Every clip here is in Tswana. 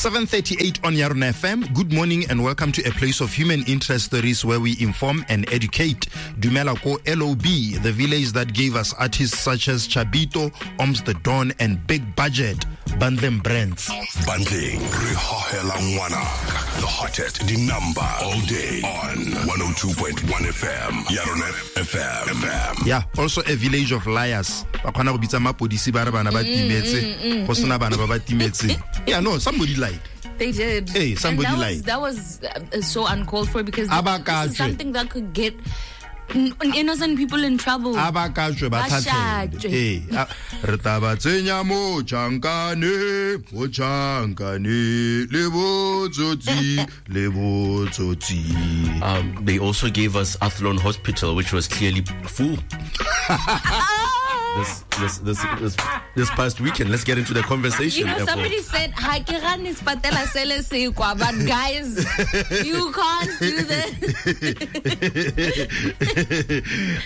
7:38 on Yarona FM. Good morning and welcome to a place of human interest stories where we inform and educate. Dumela ko LOB, the village that gave us artists such as Chabito, Oms the Don and Big Budget. Bandlem Brands. Bandleng re hohela ngwana the hottest the number all day on 102.1 FM Yarona FM FM. Yeah, also a village of liars. Ba kgona go bitsa mapodisi ba re bana ba timetse. Go sena bana ba ba timetseng. Yeah, no, somebody lied. They did. Hey, somebody and that lied. Was, that was so uncalled for because A ba this is katswe. something that could get innocent people in trouble. A ba ka tswe ba Ba tlhatlhele. shatwe. Ee, re tla ba tsenya mo tšhankane, mo tšhankane, le botsotsi, le botsotsi. They also gave us Athlone Hospital, which was clearly full. This past weekend. Let's get into the conversation. You know, therefore. somebody said, "Ha ke gane sepatela sele se kwa," but guys, you can't do this.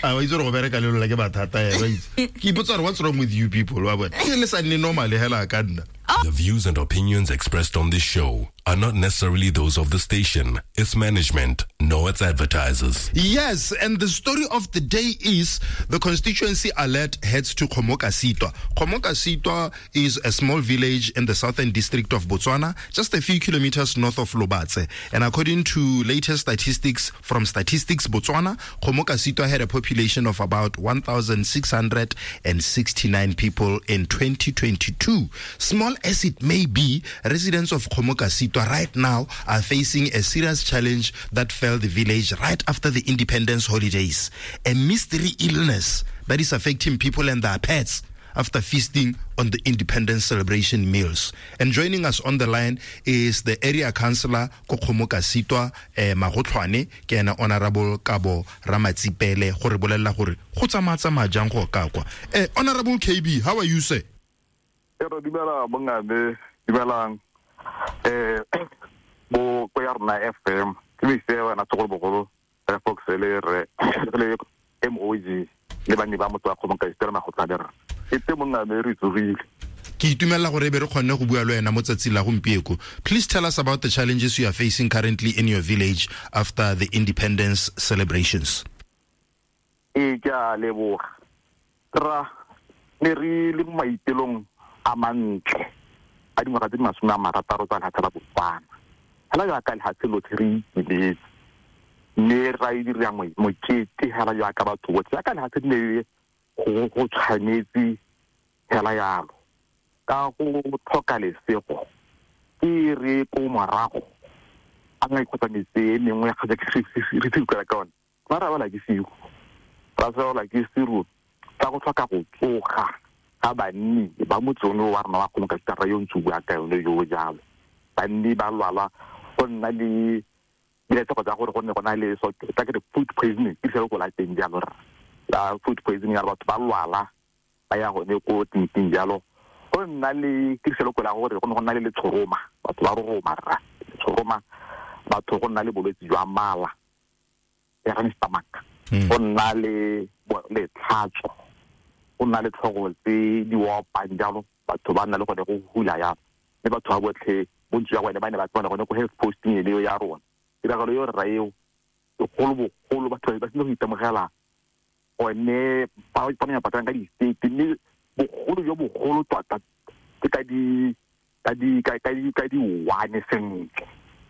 A wa itse gore go bereka le lona ke mathata ena, wa itse. Ke ipotsa gore what's wrong with you people, wa bona. Ke le sa nne normal hela ka nna. The views and opinions expressed on this show are not necessarily those of the station, its management, nor its advertisers. Yes, and the story of the day is the constituency alert heads to Kgomokasitwa. Kgomokasitwa is a small village in the southern district of Botswana, just a few kilometers north of Lobatse. And according to latest statistics from Statistics Botswana, Kgomokasitwa had a population of about 1,669 people in 2022. Small as it may be, residents of Kgomokasitwa right now are facing a serious challenge that fell the village right after the independence holidays. A mystery illness that is affecting people and their pets after feasting on the independence celebration meals. And joining us on the line is the area councillor ko Kgomokasitwa, Magotlhwane, ke ena Honorable Kabo Ramatsipele, go re bolella gore go tsamaya-tsamaya jang go ka kwa. Honorable KB, how are you, sir? Ero dumela bongame, dumelang. Bo ko ya rona FM, ke me se wena tsogolo re Fox le re le MOG le banni ba motho wa Kgomokasitwa Magotlhwane re. E te mongame re tsogile. Ke itumela gore be re kgonne go bua le wena mo tsatsing la gompieko. Please tell us about the challenges you are facing currently in your village after the independence celebrations. E ke a leboga. Ra ne re le mo maitelong a mantle a dingwaga tse di 60 tsa lefatshe la Botswana. Hela jaaka lefatshe lotlhe re itumetse, mme ra e dira mokete hela jaaka batho botlhe, jaaka lefatshe di ne go tshwanetse hela jalo. Ka go tlhoka lesego ke re ko morago a nka kgotsa metse e mengwe ya kgotsa ke re tsukela ka one. Ba ra bala ke sigo. Ra tswela ke siru tsa go tlhoka go tsoga ga banni ba motse ono wa rona wa Kgomokasitwa ra yo ntse bua ka yone yo jalo. Banni ba lwala go nna le diletshego tsa gore go nne go na le so tsa ke re food poisoning ke se go la teng jalo rra. La food poisoning ya batho ba lwala ba ya gone ko tleliniking jalo. Go nna le tiriselo la gore go ne go nna le letshoroma, batho ba roroma rra. Letshoroma, batho go nna le bolwetse jwa mala, ya gane stomach. Go nna le letlhatso, go nna le tlhogo tse di opang jalo, batho ba nna le gone go hula jalo. Mme batho ba botlhe bontsi jwa bone ba ne ba tsena gone ko health posting eo ya rona. Tiragalo eo rra eo, bogolo batho ba sile go itemogela gone ba ipona ba ka di-state, mme bogolo jo bogolo tota ke ka di ka di ka ka di ka di one sentle.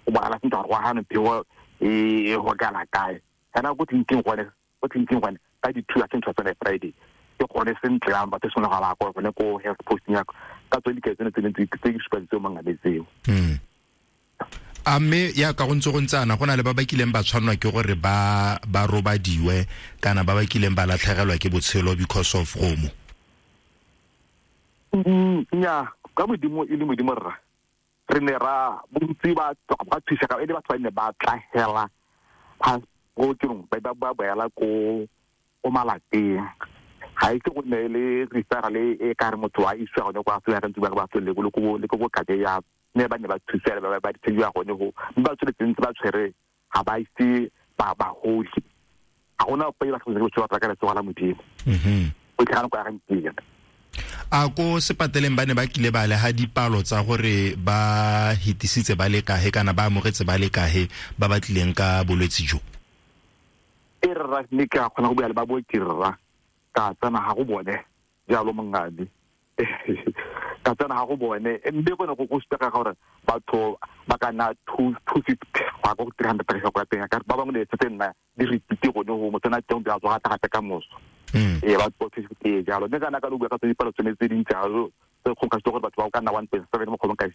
O bona sentle gore go gane pheo e go kala kae. Kana go tleliniking gone, go tleliniking gone ka di 2 I think tsone Friday. Ke gone sentle yang batho sone ga ba go gone ko health posting ya ka tsone diketso tsene tse di supa tseo mangame tseo. A mme ya ka go ntse go ntsana go na le ba ba kileng ba tshwanwa ke gore ba robadiwe kana ba ba kileng ba latlhegelwa ke botshelo because of gomo. Nya ka modimo e le modimo rra. Re ne ra bontsi ba ba thusa ka e le batho ba ne ba tlhagela go tirong ba ba boela ko malapeng. Ga e ke go nne le referral e ka re motho a isiwa gone kwa Afrika ntse ba ba tswele le ko le ko kake ya ne ba ne ba thusa ba ba ditshediwa gone go mme ba tsweletse ntse ba tshwere ga ba ise ba ba hole. Ga gona ope ba tlhokometse botshelo ba ka letsogo la modimo. O tlhagana kwa ga nteng. A ko sepateleng ba ne ba kile ba le ha dipalo tsa gore ba hitisitse ba le kae kana ba amogetse ba le kae ba ba tlileng ka bolwetse jo? E rra ne ke a kgona go bua le ba booki rra, ka tsena ga go bone jalo mongane, ka tsena ga go bone, mme gone go supega gore batho ba ka nna 250 go ya ko 300 go ya teng, ka ba bangwe le tse nna di repeat gone go mo tsena teng di a tswa gape ka moso. Ee, ba 250 jalo. Mme kana ka lo bua ka tse dipalo tsone tse dintsi jalo tse kgong ka gore batho ba ka nna 1.7 mo kgolong ka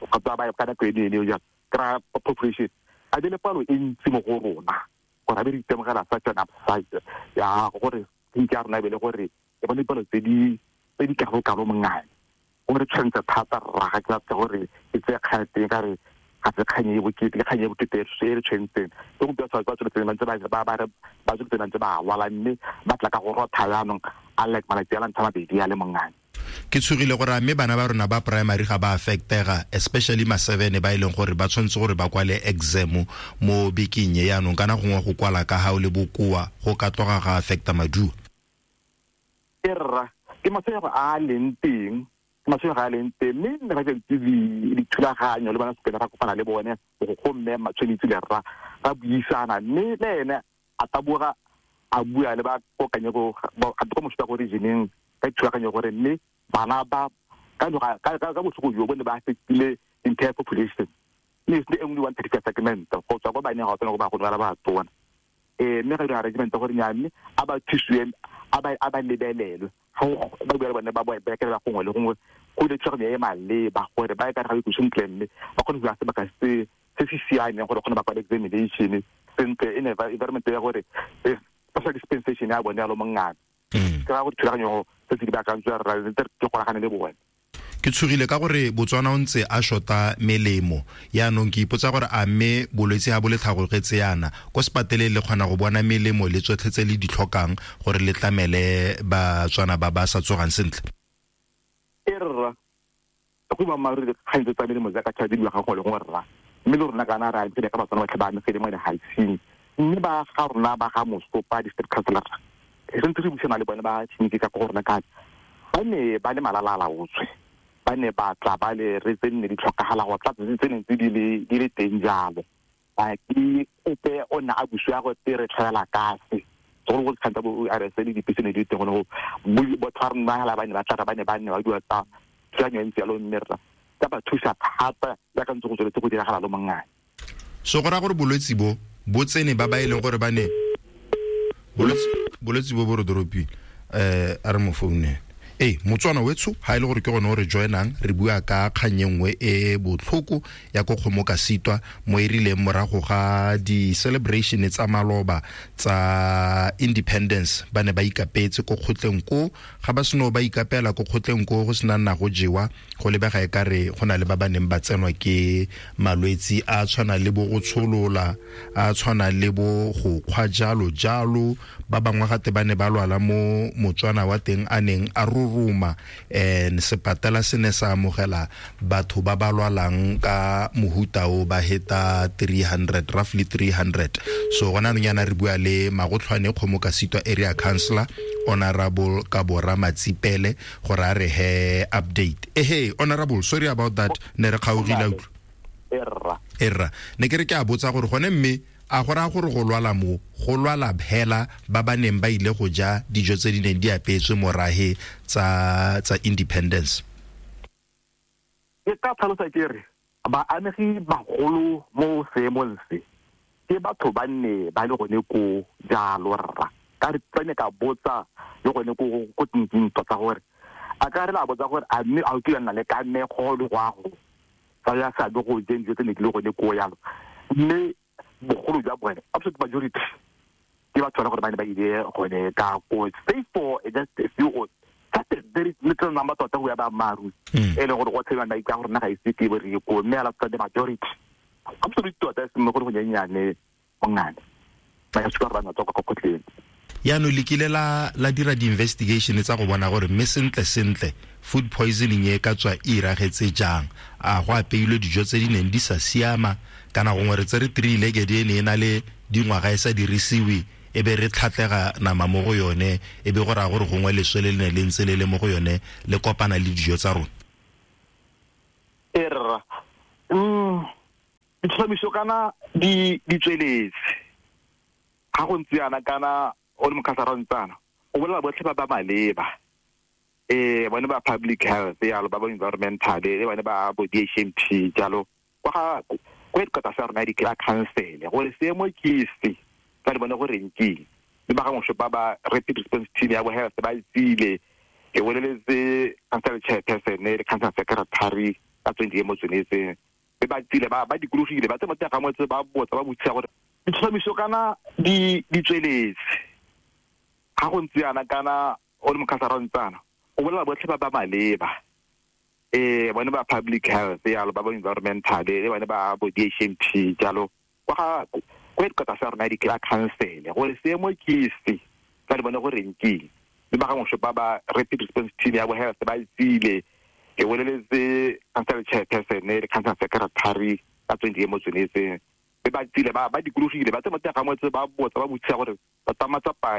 kgotsa ba ka nako eno eno jalo kry population a di le palo e ntsi mo go rona, gore a be re itemogela such an upside ya gore tleliniki ya rona e be le gore e bone dipalo tse di kalo-kalo mongane. Gore tshwanetse thata rra, ga ke batla gore e tseye kgang teng ka re ga se kgang e bokete, ke kgang e bokete e re tshwentseng. Le gompieno batho ba tsweletseng ba ntse ba tsweletseng ba ntse ba lwala, mme ba tla ka go rotha jaanong a like malatsi a la ntlha mabedi a le mongane. Ke tshogile gore a mme bana ba rona ba primary ga ba affectega, especially ma 7 ba e leng gore ba tshwanetse gore ba kwale exam mo bekeng e yaanong, kana gongwe go kwala ka ga o le bokoa go ka tloga ga affecta maduo. E rra, ke matshwenyego a a leng teng, ke matshwenyego a a leng teng, mme nne ga ke dithulaganyo le bana sekole ra kopana le bone go mme Matshwenitse le rra ra buisana, mme le ene a taboga a bua le ba kokanyego ko mosuta go regioneng ka dithulaganyo gore mme bana ba ka botlhoko jo bone ba affectile entire population, mme e nngwe one particular segment go tswa ko baneng ga o tsena go ba go ba ba tona. Mme ga dira arrangement gore nya mme a ba thusiwe, a ba lebelelwe ba bua le bone ba berekela gongwe le gongwe go ile thulaganyo e maleba gore ba e ka re ga sentle, mme ba kgone go sebaka se se siameng gore kgone ba kwale examination sentle in environment ya gore social dispensation ya bone ya lo mongane. Ke ra gore thulaganyo tse di baakantswe rra ntse ke golagane le bone. Ke tshogile ka gore Botswana o ntse a shota melemo, yaanong ke ipotsa gore a mme bolwetse ha bo le tlhagogetse yana ko sepateleng le kgona go bona melemo le tsotlhe tse le di tlhokang gore le tlamele Batswana ba ba sa tsogang sentle? E rra, go ba mare dikgang tse tsa melemo jaaka tšha di ga go le gongwe rra, mme le rona kana re amegile ka Batswana batlhe ba amegile mo lehaising, mme ba ga rona ba ga Mosopa district councilor re ntse re buisana le bone ba tleliniki ka go rona ka ba ne ba le malala-a-laotswe, ba ne ba tla ba le re tse nne di tlhokagala go tla tse neng tse di le teng jalo. Ba ke ope o ne a busiwa go te re tlhoela kase segolo go dikgang tsa bo ORS le dipese ne di teng gone go batho ba rona hela ba ne ba tla ba ne ba nne ba bua tsa thulaganyo e ntse jalo, mme rra ka ba thusa thata jaaka ntse go tsweletse go diragala lo mongane. So go raya gore bolwetse bo bo tsene ba ba e leng gore ba ne bolwetse bo bo re doropile a re mo founele. Ee, Motswana wetsho ha e le gore ke gone o re joinang, re bua ka kgang e nngwe e botlhoko ya ko kgomo ka sitwa mo e rileng morago ga di-celebration tsa maloba tsa independence, ba ne ba ikapetse ko kgotleng ko, ga ba seno ba ikapela ko kgotleng ko go sena nna go jewa, go lebega e kare go na le ba ba neng ba tsenwa ke malwetsi a tshwana le bo go tsholola, a tshwana le bo go kgwa jalo jalo. Ba bangwe gate ba ne ba lwala mo Motswana wa teng a neng a roroma, and sepatela se ne sa amogela batho ba ba lwalang ka mohuta o ba heta 300, roughly 300. So gona anong yana re bua le Magotlhwane Kgomo ka Sitwa area councillor Honorable Kabora Matsipele gore a re he update. Ehe, Honorable, sorry about that, ne re kgaogile utlwa. Erra, ne ke re ke a botsa gore gone mme a go raya gore go lwala mo go lwala hela ba ba neng ba ile go ja dijo tse di neng di apeetswe morahe tsa independence? Ke ka tlhalosa ke re baamegi bagolo mo seemong se ke batho ba nne ba le gone ko jalo rra, ka re tsene ka botsa le gone ko tleliniking tota gore a ka re la botsa gore a mme a o kile nna le kamego le go a go tsa ya seabe go jeng dijo tse ne di le gone ko yalo, mme bogolo jwa bone absolute majority ke batho ba gore ba ne ba ile gone ka ko, save for just a few or just a very little number tota go ya ba maru e leng gore go tshelang ba itse gore nna ga ise ke bo re ko, mme ala the majority absolute tota e seng gore go nyenyane mongane ba ya supa gore ba tswa kwa kgotleng. Yaanong le kile la dira di-investigation tsa go bona gore mme sentle sentle food poisoning e ka tswa e iragetse jang, a go apeilwe dijo tse di neng di sa siama, kana gongwe re tsere three-legged e ne e na le dingwaga e sa dirisiwe e be re tlhatlega nama mo go yone, e be go raya gore gongwe leswe le le ne le ntse le le mo go yone le kopana le dijo tsa rona? E rra, ditlhomiso kana di tsweletse. Ga go ntse yana kana o le mokhansara o ntsana o bolela botlhe ba ba maleba, bone ba public health yalo, ba ba environmental, le bone ba bo DHMT jalo, kwa ga kwa headquarters ya rona ya council, gore seemo ke se tsa di bone gore nkeng. Le ba gangwe ba ba rapid response team ya bo health ba tsile, ke boleletse council chairperson le council secretary ka tsone diemo tsone tse, be ba tsile ba dikologile, ba tse mo teng ga motse, ba botsa, ba botsisa gore ditlhomiso kana di tsweletse. Ga go ntse yana kana o le mokhansara o ntsana o bolela botlhe ba ba maleba, bone ba public health yalo, ba ba environmental, le bone ba bo DHMT jalo, kwa ga kwa headquarters ya rona ya council, gore seemo ke se tsa di bone gore nkeng. Le ba gangwe ba ba rapid response team ya bo health ba tsile, ke boleletse council chairperson le council secretary ka tsone diemo tsone tse, be ba tsile ba dikologile, ba tse mo teng ga motse, ba botsa, ba botsisa gore ba tsa matsapa